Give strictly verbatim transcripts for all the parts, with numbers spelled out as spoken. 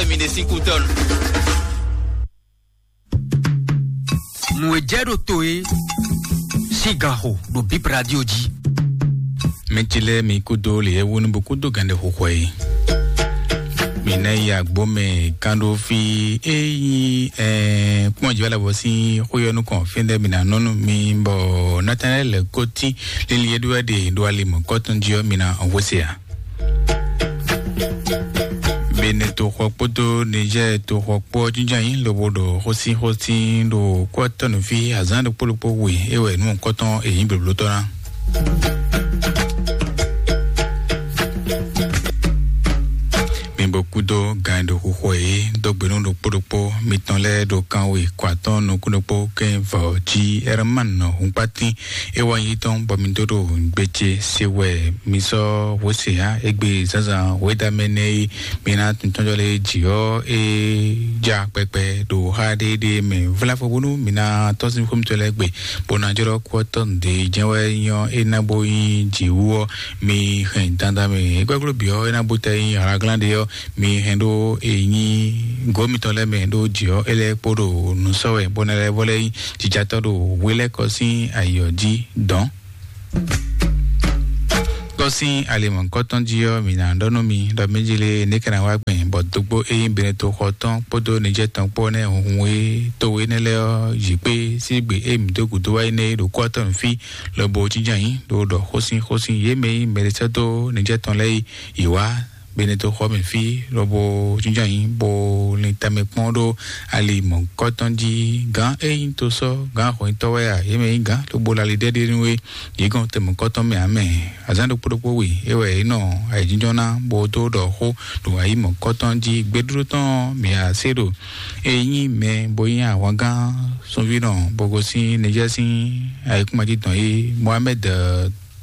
Mi ɖe sín kú tɔn. Nǔ e jɛ ɖo to é sín ganxo ɖo Bip Radio jí. Mɛ ce lɛ́ɛ mi kúdó lě e wú ní bo kúdó gǎnɖɛ xixɔ é. Mi ná yi agbo mɛ kán ɖó fí é nyí kpɔ́n jǐ wá lɛ́ bɔ sín xwé ɔ́ nukɔn fínɛ́ mi ná nɔ́ nú mi bɔ Natanɛ́li lɛ́ kó tín lili e ɖó wɛ ɖe ɖo ali mɔ̌kɔtɔn jí ɔ́ mi ná hwesé ǎ. Bene toxɔ kpódó Nijɛ́ɛ toxɔ kpó ɔ́ jínjɔ́n ayǐ lobo ɖo xósíxósí ɖo kú ɔ́ tɔ́ nǔ fí azǎn ɖokpó ɖokpó we é wɛ nǔ kɔ́tɔn è nyǐ blǒblótɔ́ ná. Mi bo kúdó gan e ɖo xuxo é dó gbe nú ɖokpó ɖokpó mitɔn lɛ́ɛ ɖo kanwe kɔ atɔ́ɔ́n nukún ɖokpó kɛ́n vɔ jí Ɛrmán hunkpatín é wá nyí tɔn bɔ mi dó ɖo gbe ce se wɛ mi sɔ́ hwesé ǎ égbé zǎnzǎn hwedamɛ nɛ́ é. Mi ná tuntɔ́njɔ lé jǐ ɔ́ é ja kpɛkpɛ ɖo xá ɖéɖé mɛ vlá fɔ bónú mi ná tɔ́ sín xwé mitɔn lɛ́ɛ gbe bó ná jlɔ́ kú ɔ́ tɔ́ nǔɖé jɛ́n wɛ nyɔ́ é ná bó nyí jǐ wú ɔ́. Mi hɛn dandan mɛ é gbɛ́gló bǐ ɔ́ é ná bó tɛ nyí ahlaglán ɖé ɔ́. Mi hɛn ɖó e nyí gǒ mitɔn lɛ́ɛ mɛ ɖó jǐ ɔ́ é lɛ́ kpo ɖo nǔ sɔ́ wɛ bó ná lɛ́ vɔ lɛ́ nyí jijatɔ́ ɖo hwelɛ́kɔ sín ayǐ ɔ́ jí dɔ̌n. Kɔ sín ali mɔ̌hunkɔtɔn jí ɔ́, mǐ ná ɖɔ nú mi ɖɔ mɛjlé nɛ́ ka ná wá gbɛn bɔ dógbó e nyí Benetoxɔ tɔn kpódó Nijɛ́ tɔn kpó nɛ́ hunhun e towe énɛ́ lɛ́ɛ ɔ́ yǐ kpé sín gbe e mǐ dó gǔdo wá é nɛ́ ɖo kú ɔ́ tɔn fí lobo jínjɔ́n ayǐ ɖo ɖɔ xósin xósin yě mɛ e nyí mɛɖé sɛ́ dó Nijɛ́ tɔn lɛ́ɛ yi yě wá Benetoxɔ mɛ fí lobo jínjɔ́n ayǐ bo lin tamɛ kpɔ́n ɖó ali mɔ̌hunkɔtɔn jí. Gǎn e nyí tosɔ́ gǎn xɔnyitɔ́ wɛ a? Yě mɛ nyí gǎn lobo lali ɖɛ́ɖíe nú we. Yě gɔn tɛnmɔkɔ́tɔn mɛ ǎ mɛ. Azǎn ɖokpó ɖokpó we é wɛ é nɔ ayǐjínjɔ́n ná bó dó ɖɔ xó ɖo ayǐ mɔ̌kɔtɔn jí. Gbɛɖóɖó tɔn mǐ a se ɖo e nyí mɛ bó nyí ahwangán sunvínɔ bó gosín Nijɛ́ sín ayǐkúngban jí dɔn é Mohamɛ́d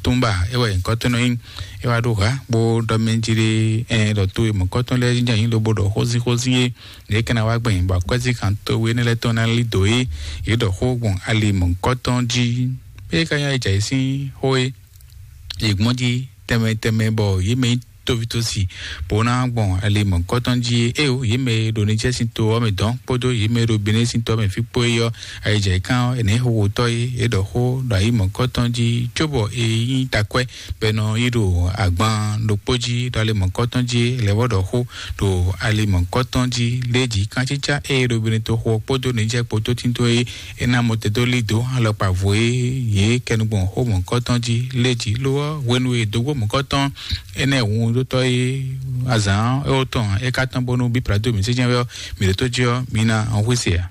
Túnba é wɛ nyǐkɔ́tɔn nɔ nyí. É wá ɖó hǎ bó ɖɔ mɛ jí ɖé ɛ ɖɔ to e mɔ̌kɔtɔn lɛ́ɛ jínjɔ́n ayǐ lobo ɖɔ xózínxózín é. Yě kɛ́n ná wá gbɛ̀n bɔ akwɛ́zínxan towe énɛ́ lɛ́ɛ tɔn ná lí dǒ é. Yě ɖɔ xó gbɔn ali mɔ̌kɔtɔn jí. É ka nyí ayǐjǎyí sín xó é. Yě gbɔn jí tɛnmɛ tɛnmɛ bɔ yě mɛ nyí tóvítósi bó ná gbɔn ali mɔ̌kɔtɔn jí é. Éyo yě mɛ e ɖo Nijɛ́ sín to ɔ́ mɛ dɔn kpódó yě mɛ e ɖo Benɛ́ sín to ɔ́ mɛ fí kpó é ɔ́, ayǐjǎyí kán ɔ́, è nɛ̌ xóxótɔ́ é. É ɖɔ xó ɖo ayǐ mɔ̌kɔtɔn jí cóbɔ è nyí takwɛ́ bɔ è nɔ yi ɖo agban ɖokpó jí ɖo ali mɔ̌kɔtɔn jí é. Lɛ̌ vɔ ɖɔ xó ɖo ali mɔ̌kɔtɔn jí lé jí. Kantítsá e ɖo Benɛ́ toxo ɔ́ kpódó Nijɛ́ kpódó tínto é é ná mɔ te dó lí dǒ alɔkpa vo e yě kɛnu gbɔn xó mɔ̌kɔtɔn jí lé jí. Lo ɔ́, hwenu e dǒgbó mɔ̌kɔtɔn énɛ́ hun dó tɔ́ é azǎn é wó tɔn é ka tɔn bónú bí Plado mi sɛ́ jɛ́n wɛ ɔ́, mi ɖo tó jí ɔ́, mi ná hwíse ǎ.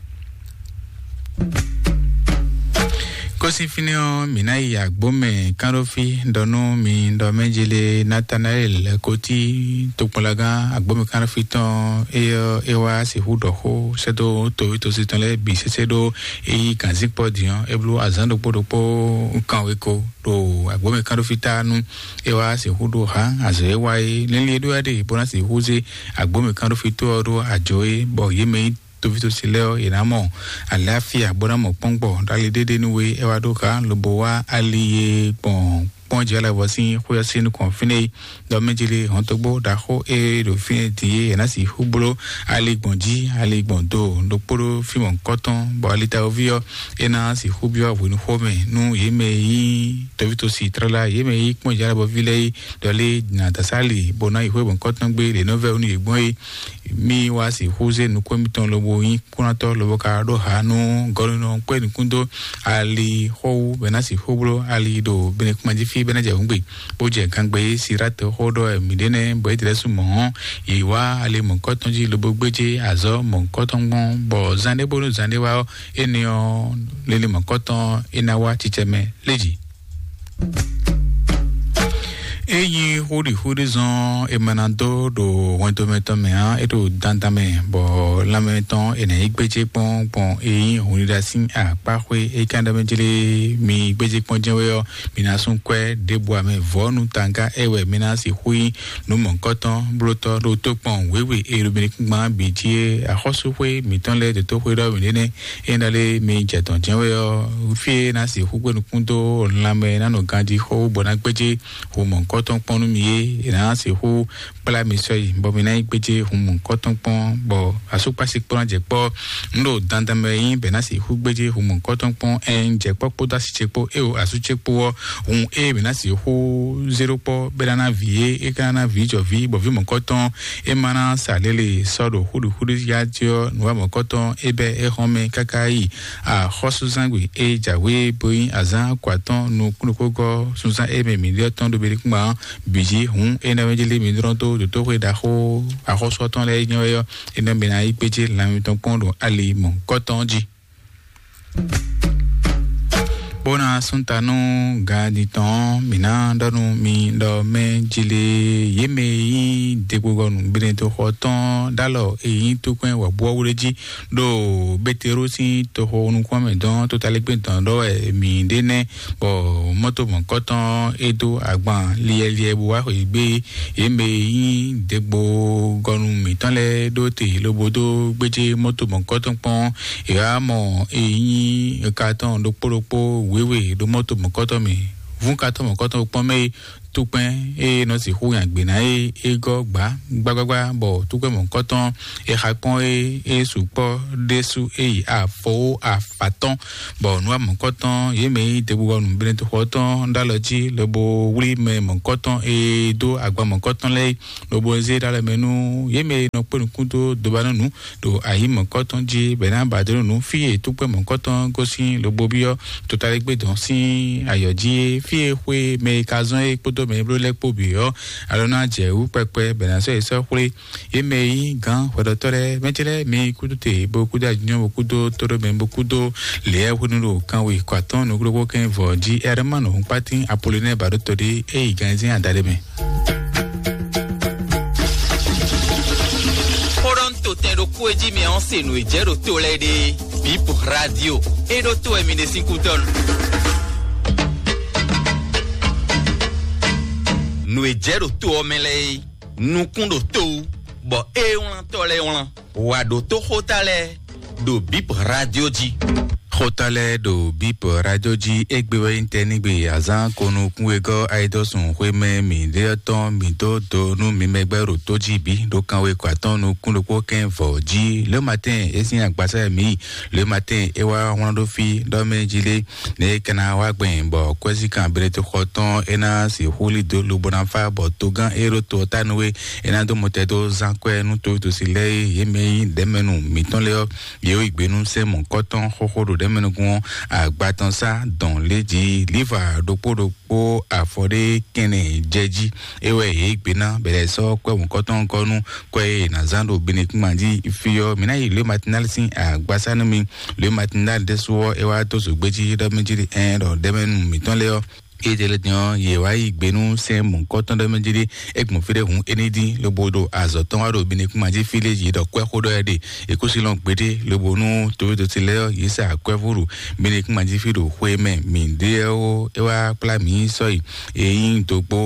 Kɔ́sí fínɛ́ ɔ́, mǐ ná yi agbǒ mɛ kánɖófí ɖɔ nú mi ɖɔ mɛ jele Natanaɛl kotí tokpɔnlagán agbǒ mɛ kánɖófí tɔn é ɔ́ é wá sixú ɖɔ xó sɛ́dó toví tosi tɔn lɛ́ɛ bǐ sésé ɖó é yí gǎnzíkpɔ́ din ɔ́ é bló azǎn ɖokpó ɖokpó kanweko ɖo agbǒ mɛ kánɖófí ta nú é wá sixú ɖó hǎ azɔ̌ e wa é. Lɛ́nlin e ɖó wá ɖe bó ná sixú zé agbǒ mɛ kánɖófí tó ɔ́ ɖó ajo é bɔ yě mɛ nyí toví tosi lɛ́ɛ ɔ́, yě ná mɔ aláfíà bó ná mɔ kpɔ́ngbɔ ɖo ali ɖéɖé nú we. É wá ɖó xa lobo wá ali e gbɔn kpɔ́n jɛ lɛ́ vɔ sín xwé ɔ́ sín nukɔn fínɛ́ é. Ɖɔ mɛ jeli hɔntogbó ɖaxó e ɖo fínɛ́ din é, è nǎ sixú bló ali gbɔn jí, ali gbɔn do ɖokpó ɖó fí mɔ̌hunkɔtɔn, bɔ ali tawuví ɔ́, é ná sixú byɔ́ hwenu xó mɛ nú yě mɛ e nyí toví tosi tlala, yě mɛ e nyí kpɔ́n jɛ lɛ́ vɔ ví lɛ́ɛ é. Ɖɔ lé nǎ dasá ali bó ná yi xwé mɔ̌hunkɔtɔn gbé ɖě nɔ́ vɛ́ nú yě gbɔn é. Mi wá sixú zé nukún mitɔn lobo nyí kúnatɔ́ lobo ka ɖó ha nú gɔ́núnɔ kpé nukún dó ali xɔ́wú bɛ ná sixú bló ali ɖo bɛnɛkúnmajífí bɛ ná jɛ hǔngbe bó jɛ gangbe. Siráte xó ɖɔ mǐɖé nɛ́ bɔ é tlɛ́ sú mɔ̌ ɔ́, yě wá ali mɔ̌kɔtɔn jí lobo gbéjé azɔ̌ mɔ̌kɔtɔn gbɔn, bɔ zán ɖé bónú zán ɖé wá ɔ́, énɛ́ ɔ́ lili mɔ̌kɔtɔn é ná wá cicɛ mɛ lé jǐ. Ényí xóɖixóɖi zɔn è ma ná dó ɖo hwɛndo mɛ tɔn mɛ ǎ, é ɖo dandan mɛ, bɔ lanmɛ tɔn è nǎ yi gbéjé kpɔ́n gbɔn é nyí hunɖiɖa sín akpáxwé é ká ɖɔ mɛ jlé mi gbéjé kpɔ́n jɛ́n wɛ ɔ́, mi ná sú kwɛ́ ɖěbǔ amɛ vɔ̌ nú tanga é wɛ mi ná sixú nyí nǔ mɔ̌hunkɔtɔn blótɔ́ ɖo tókpɔn wěwe e ɖo mi nukúngbán bǐ jí é. Axɔ́súxwé mǐtɔn lɛ́ɛ dǒtóxwé ɖɔ mǐɖé nɛ́ é ná lé mi jɛ dɔ̌n jɛ́n wɛ ɔ́, fí e ná sixú gbé nukún dó lanmɛ ná nɔ ganjí xó bɔ ná gbéjé xomɔ̌hunkɔtɔn mɔ̌kɔtɔn kpɔ́n nú mi é, è nǎ sixú kplá mi sɔ́ yi, bɔ mi ná yi gbéjé hun mɔ̌kɔtɔn kpɔ́n, bɔ asúkpási kpɔ́n ná jɛ kpɔ́. Nǔ ɖo dandan mɛ nyí bɛ̌ ná sixú gbéjé hun mɔ̌kɔtɔn kpɔ́n, ɛ un jɛ kpɔ́ kpódó así ce kpó, é o asú ce kpó ɔ́, hun e mǐ ná sixú zé ɖó kpɔ́ bɛ́ ná ná vǐ é, é ka ná ná vǐ jɔ vǐ, bɔ vǐ mɔ̌kɔtɔn é ma ná sa lě le sɔ́ ɖo xúɖuxúɖu yá jí ɔ́, nǔwamɔ̌kɔtɔn é bɛ́ é xɔ́n mɛ káká yi axɔ́súzangbe e jǎwe bo nyí azǎn ko atɔ́ɔ́n nukúnnukúngɔ́ sunzán e mɛ mǐ ɖe ɔ́ tɔn ɖo Belékúngbà ɔ́ bǐ jí. Hǔn énɛ́ mɛ jí lé mi dlɔ́n dó dotóxwe ɖaxó axɔ́sú ɔ́ tɔn lɛ́ɛ nyɔ́ é ɔ́, énɛ́ mɛ ná yí gbéjé lan mitɔn kpɔ́n ɖo ali mɔ̌hunkɔtɔn jí. Bó ná sún ta nú ganjí tɔn ɔ́, mǐ ná ɖɔ nú mi ɖɔ mɛ jí lé yě mɛ e nyí degbogɔnu gbéɖétoxɔ tɔn ɖ'alɔ e nyí tókpɛn wɔ̌buwɔ́bú ɖé jí ɖo Betelú sín toxo nukún mɛ dɔn tótalígbé dɔn ɖɔ wɛ mǐ ɖe nɛ́, bɔ mɔ́to mɔ̌kɔtɔn e dó agban liɛliɛ bó wá xweyǐgbe. Yě mɛ e nyí degbogɔnu mǐtɔn lɛ́ɛ ɖó te lobo dó gbéjé mɔ́to mɔ̌kɔtɔn kpɔ́n. È wá mɔ e nyí katɔn ɖokpó ɖokpó wěwe ɖo mɔ́to mɔ̌kɔtɔn mɛ. Vún katɔn mɔ̌kɔtɔn kpɔ́n mɛ é, tukpɛn e nɔ sixú nya gbě ná é, é gɔ́ gbǎ gbágbágbá, bɔ tukpɛn mɔ̌kɔtɔn e xa kpɔ́n é, é sukpɔ́ ɖésú é yi afɔwó afatɔ́n, bɔ nǔ wa mɔ̌kɔtɔn yě mɛ e nyí degbugɔnu Benɛtoxɔ tɔn ɖó alɔ jí lobo wlí mɛ mɔ̌kɔtɔn e dó agba mɔ̌kɔtɔn lɛ́ɛ é, lobo zé ɖó alɔ mɛ nú yě mɛ e nɔ kpé nukún dó dobanúnú ɖo ayǐ mɔ̌kɔtɔn jí, bɔ è nǎ ba dó nú fí e túkpɛ́ mɔ̌kɔtɔn gosín lobo byɔ́ totaligbé dɔn sín ayɔ jí é, fí e xwé mɛ e ka zɔ́n é kpódó mɛ e bló lɛ́ɛ kpó bǐ ɔ́, alɔ ná jɛ wǔ kpɛkpɛ, bɔ è nǎ sɔ́ yě sɔ́ xwlé. Yě mɛ e nyí gǎn hwɛɖɔtɔ́ lɛ́ɛ, mɛ ce lɛ́ɛ mi kúdó te, bó kúdó ajínjɔ́n, bó kúdó tóɖómɛ, bó kúdó lěyɛ́hwenu ɖo kanwe kɔ atɔ́ɔ́n nukúɖokpó kɛ́n vɔ̌ jí. Ɛrɛmánu Hunpátín Apolonɛ́ɛ Baɖótɔ́ɖé, é yi ganzɛ́n adaɖé mɛ. Xó ɖɔ un to tɛn ɖokpó e jí mi ɔ́ se nǔ e jɛ ɖo to lɛ́ɛ ɖe. Bip Radio, é ɖó to wɛ mi ɖe sín kútɔ́ nu. Nǔ e jɛ ɖo to ɔ́ mɛ lɛ́ɛ é, nukún ɖo to wú, bɔ é wlán tɔ́ lɛ́ɛ wlán. Wǎ ɖótó xóta lɛ́ɛ ɖo Bip Radio jí. Xóta lɛ́ɛ ɖo Bip Radio jí, égbé wɛ nyí tɛnígbe azán konukún wegɔ́ ayidɔ́sùn xwémɛ mǐɖétɔn mǐ dó do nú mi mɛgbɛ́ ɖo tó jí bǐ ɖo kanwe kɔ atɔ́ɔ́n nukún ɖokpó kɛ́n vɔ̌ jí. Le matin é sín agbasá e mǐ yi. Le matin é wá wlán ɖó fí ɖɔ mɛ jí lé, ne é ka ná wá gbɛn bɔ kwɛ́síkan Benɛtoxɔ tɔn é ná sixú lí dó lobo ná fá bɔ togán e ɖo to ɔ́ ta nú é, é ná dó mɔtɛn dó zán kwɛ́ nú towítɔ́si lɛ́ɛ e yě mɛ nyí ɖɛ̌mɛnu mǐtɔn lɛ́ɛ ɔ́, yě yi gbe nú sɛ́n mɔ̌kɔtɔn xóxó ɖo ɖɛ̌mɛnukún ɔ́, agba tɔn sá dɔn lě jí, líva ɖokpó ɖokpó afɔ ɖé kɛnɛ jɛ jí. É wɛ yě gbe ná bɛlɛ sɔ́ kwɛ́ mɔ̌kɔtɔn gɔ́ nú kwɛ́ e è nǎ zán ɖo Benɛkúngbán jí fí ɔ́. Mǐ ná yi Le Matinal sín agbasá nú mi. Le Matinal ɖésú ɔ́, é wá dó zǒgbé jí ɖɔ mɛ jí ɖi ɛn ɖɔ ɖɛ̌mɛnu mǐtɔn lɛ́ɛ ɔ́, é jɛ lɛ din ɔ́, yě wá yi gbe nú sɛ́n mɔ̌kɔtɔn ɖɔ mɛ jí ɖi é gbɔn fí ɖé hǔn é ní dín lobo ɖo azɔ̌ tɔn wá ɖo Benɛkúngbán jí fí lé jí ɖɔ kwɛ́ xó ɖɔ wɛ ɖe. È kó sí lɔn gbeɖé lobo nú towétoti lɛ́ɛ ɔ́, yě sa akwɛ́vú ɖo Benɛkúngbán jí fí ɖo xwe mɛ mǐ ɖe ɔ́, é wá kplá mǐ sɔ́ yi. È nyí dǒgbó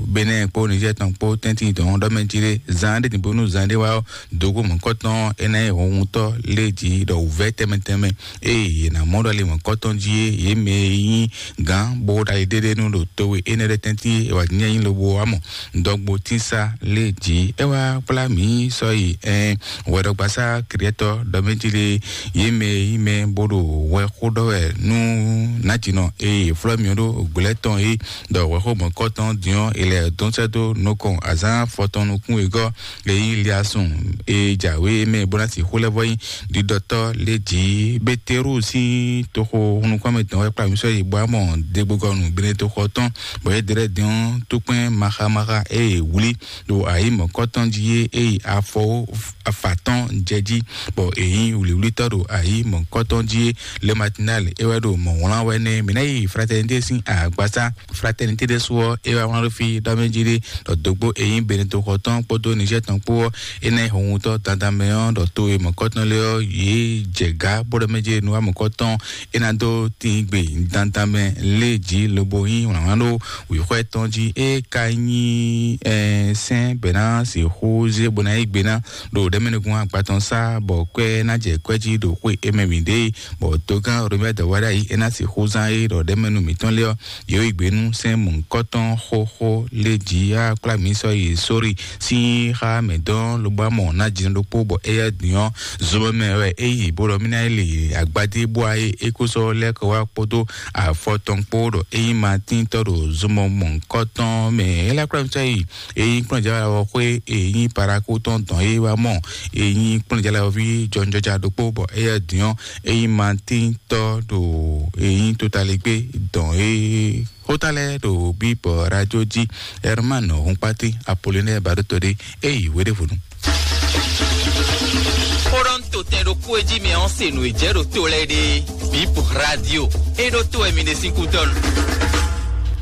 Benɛ́ɛ kpó Nizɛ́ɛ tɔn kpó tɛ́ntin tɔn ɖɔ mɛ jí ɖé. Zan ɖé din bónú zan ɖé wá ɔ́, dǒgbó mɔ̌kɔtɔn é ná nyí hɔnhuntɔ́ lé jí ɖɔ wǔvɛ́ tɛnmɛ tɛnmɛ. Ée yě ná mɔ ɖɔ ali mɔ̌kɔtɔn jí é, yě mɛ e nyí gǎn bó ɖo ali ɖéɖé nú ɖo towe énɛ́ lɛ́ɛ tɛ́ntin é, è wǎ nyí lobo wá mɔ dɔgbo tínsa lé jí. É wá kplá mǐ sɔ́ yi ɛn hwɛɖɔgbasá Kɛlɛtɔ ɖɔ mɛ jí lé, yě mɛ e nyí mɛ bó ɖo hwɛ xó ɖɔ wɛ nú nǎjínɔ e è flɔ́ mì ɖó gblɛ̌ tɔn é, ɖɔ hwɛxó mɔ̌kɔtɔn din ɔ́, è lɛ dɔn sɛ́ dó nukɔn azǎn afɔtɔn nukún wegɔ́ e nyí Liasun e jǎwe mɛ bó ná sixú lɛ́ vɔ nyí ɖiɖɔtɔ́ lé jí. Beterú sín toxo nukún mɛ tɔn wɛ kplá mǐ sɔ́ yi bɔ amɔ degbogɔnu Benɛtoxɔ tɔn, bɔ é ɖe lɛ́ din ɔ́, tókpɛn maxamaxa e è wlí ɖo ayǐ mɔ̌kɔtɔn jí é, é yi afɔ afǎtɔn jɛ jí, bɔ è nyí wlǐwlítɔ́ ɖo ayǐ mɔ̌kɔtɔn jí é. Le Matinal é wɛ ɖo mɔ̌ wlán wɛ nɛ́. Mǐ ná yi Fraternité sín agbasá. Fraternité ɖésú ɔ́, é wá wlán ɖó fí ɖɔ mɛ jí ɖé ɖɔ dǒgbó e nyí Benɛtoxɔ tɔn kpódó Nizɛ́ɛ tɔn kpó ɔ́, é ná nyí hɔnhutɔ́ dandan mɛ ɔ́, ɖɔ to e mɔ̌kɔtɔn lé ɔ́, yě jɛ gǎ bó ɖɔ mɛ jí nú wá mɔ̌kɔtɔn é ná dó tíin gbe dandan mɛ lé jí lobo Yí wlǎnwlán ɖó wǐxwɛ́ tɔn jí, é ka nyí sɛ́n bɛ̌ ná sixú zé bó ná yí gbe ná ɖo ɖɛ̌mɛnúgún agba tɔn sá, bɔ kwɛ́ ná jɛ kwɛ́ jí ɖo xwé é mɛ mǐ ɖe, bɔ togán Robert Dawada yí é ná sixú zán é ɖɔ ɖɛ̌mɛnú mǐtɔn lé ɔ́, yě yí gbe nú sɛ́n mɔ̌hunkɔtɔn xóxó lé jí á kplá mǐ sɔ́ yi sórí sín xá mǐtɔn lobɔ amɔ ná jǐnɔ ɖokpó, bɔ éyɛ́ din ɔ́, zomɛ mɛ wɛ é yi bó ɖɔ mí ná yi lě agbadé bó wá é é kó sɔ́ lɛ́ kɔ wá kpódó afɔ tɔn kpó ɖɔ é nyí Matín tɔ́ ɖo zomɔ mɔ̌hunkɔtɔn mɛ. É lɛ́ kplá mì sɔ́ yi é nyí kplɔ́njɛ́wá xwé é nyí Parakú tɔn dɔn é wá mɔ é nyí kplɔ́njɛ́wá ví jɔnjɔja ɖokpó, bɔ éyɛ́ din ɔ́ é nyí Matín tɔ́ ɖo é nyí Totalégbé dɔn é. Xóta lɛ́ɛ ɖo bíbɔ radio jí, Herman Hunkpati, Apollinaire Baɖótɔ́ ɖé, é yi hweɖěvonu. Xó ɖɔ un to tɛn ɖokpó e jí mɛ ɔ́ se nǔ e jɛ ɖo to lɛ́ɛ ɖe. Bip radio, é ɖó to wɛ mi ɖe sín kútɔ́nu.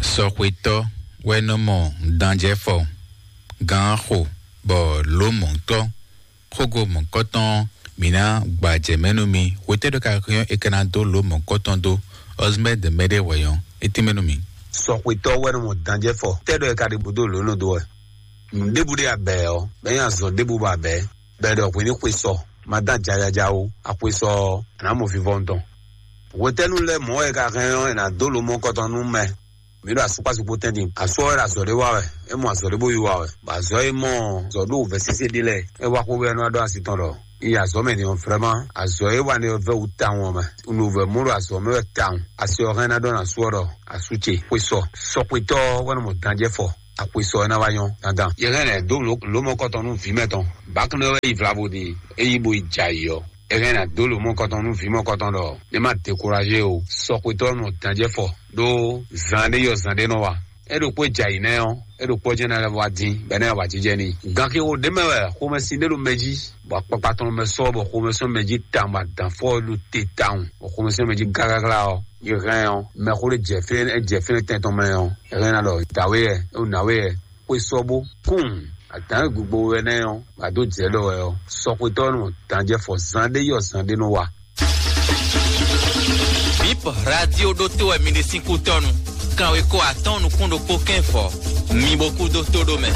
Sɔxwetɔ́ wɛ nɔ mɔ danjɛfɔ, gǎn xo, bɔ lǒ mɔ̌tɔ́, xógo mɔ̌kɔtɔn, mǐ ná gbajɛ mɛ nú mi. Hwetɛ́ ɖɔ ka hɛn é ka ná dó lǒ mɔ̌kɔtɔn dó, ɔzmɛ́ de mɛ ɖé hwɛ̌ ɔ́, é tɛ́nmɛ nú mi. Sɔxwetɔ́ wɛ nɔ mɔ danjɛfɔ. Tɛ́ ɖɔ é ka ɖe búdó lǒ nɔ dó wɛ. Nǔɖébú ɖé abɛ ɔ́, bɛ́ nyí azɔ̌ ɖébú bɔ abɛ, bɛ́ ɖɔ hwě ní xwe sɔ, ma dán jajaja ó, axwe sɔ ɔ́, a nǎ mɔ vivɔnu tɔn. Hwetɛ́nu lɛ́ɛ mɔ̌ wɛ è ka hɛn ɔ́, è nǎ dó lǒ mɔ̌kɔtɔn nú mɛ. Mǐ ɖo asúkpásúkpó tɛ́ntin. Asú ɔ́ wɛ ɖo azɔ̌ ɖé wa wɛ. É mɔ azɔ̌ ɖé bó yí wa wɛ. Bɔ azɔ̌ e mɔ azɔ̌ ɖó wǔvɛ́ sésé ɖé lɛ́ɛ, é wá xwé wɛ nú wá ɖó asi tɔn ɖɔ, "Yi azɔ̌ mɛ din ɔ́, vrɛ́ma, azɔ̌ e wa nɛ́ ɔ́ vɛ́ wú tawun ɔ́ mɛ. Un ɖo vɛ̌ mɔ ɖo azɔ̌ mɛ wɛ tawun." Asi ɔ́ hɛn ná ɖɔ nú asú ɔ́ ɖɔ, "Asú ce, xwe sɔ, sɔxwetɔ́ ɔ́ wɛ nɔ mɔ danjɛ́ fɔ. Axwe sɔ ɔ́ ná wá nyɔ́ dandan." Yě hɛn lɛ̌ dó lǒ-, lǒmɔkɔtɔn nú vǐ mɛ tɔn. Bǎkúnɔ wɛ yi vlavo din, é yí bo yi jɛ ayǐ ɔ́. È hɛn ná dó lǒ mɔkɔtɔn nú vǐ mɔkɔtɔn ɖɔ é má dekuraje o. Sɔxwetɔ́ nɔ danjɛ́ fɔ ɖó zan ɖé yɔ zan ɖé nɔ wa. É ɖokpó e jɛ ayǐ nɛ́ ɔ́, é ɖokpó ɔ́ jɛ́n ná lɛ́ wá dín, bɔ é ná yi awǎjijɛ n'i. Gan xixo ɖé mɛ wɛ xomɛsin ɖé ɖo mɛ jí, bɔ akpakpa tɔn mɛ sɔ́ bɔ xomɛ sɔ́ mɛ jí tawun, bɔ adǎnfɔ ɔ́ ɖo te tawun, bɔ xomɛ sɔ́ mɛ jí gágágá ɔ́, yě hɛn ɔ́, mɛxó ɖé jɛ fínɛ́, jɛ fínɛ́ tɛn tɔn mɛ ɔ́, é hɛn ná ɖɔ dǎwe yɛ, é wú nǎwe yɛ. Xwe sɔ́ bó kún adǎn e gbogbo wɛ nɛ́ ɔ́, bɔ a dó jɛ ɖɔ wɛ ɔ́, sɔxwetɔ́ nɔ danjɛ fɔ zan ɖé yɔ zan ɖé nɔ wa. Bip radio ɖótó wɛ mi ɖe sín kútɔ́nu. Kanweko atɔ́ɔ́n nukún ɖokpó kɛ́n fɔ. Mi bo kú dó tó ɖó mɛ.